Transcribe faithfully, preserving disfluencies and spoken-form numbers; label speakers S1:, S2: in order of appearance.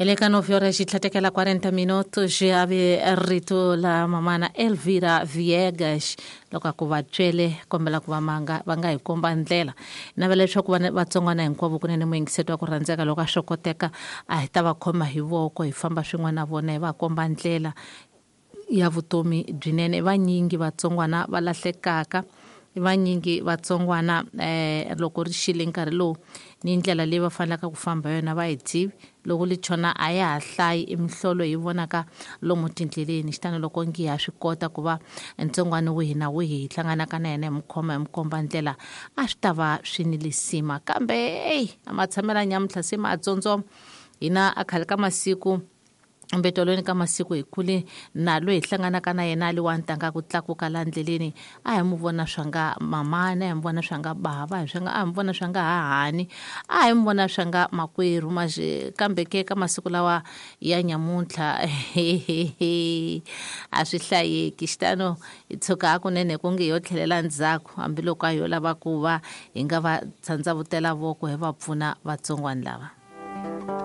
S1: Hi le ka nove horas yi tlhatekela quarenta minutos a ve rito la mamana Elvira Viegas loko a ku va twele kombela ku va manga va nga hi komba ndlela. Navela leswaku vana vatsongwana hinkwavo kunene muyingiseti wa ku rhandzeka loko a swi koteka a hi ta va khoma hi voko hi famba swin'we na vona hi va komba ndlela ya vutomi byinene. Vanyingi vatsongwana va lahlekaka, vanyingi vatsongwana eh loko ri xile nkarhi lowu ni ndlela leyi va fanelaka ku famba yona va yi tivi. Loko li chona a ya ha hlayi i mihlolo hi vonaka lomu tindleleni. Xitano loko ngi ha swi kota ku va ntsongwana wihi na wihi hi hlanganaka na yena hi mu khoma hi mu komba ndlela a swi ta va swi ni lisima. Kambe eyi a matshamela nyamuntlha se ma tsotsoma hina a khale ka masiku mbetolweni ka masiku hi kule na loyi hi hlanganaka na yena a li wa ntanga ku tlakuka la ndleleni a hi mu vona swa nga mamana, a hi mu vona swa nga bava, hi swa nga a hi mu vona swa nga hahani, a hi mu vona swa nga makwerhu maje. Kambe ke ka masiku lawa ya nyamuntlha a swi hlayeki. Xitano hi tshuka hakunene ku nge yo tlhelela ndzhaku hambiloko a yo lava ku va hi nga va tsandzavutela voko hi va pfuna vatsongwana lava.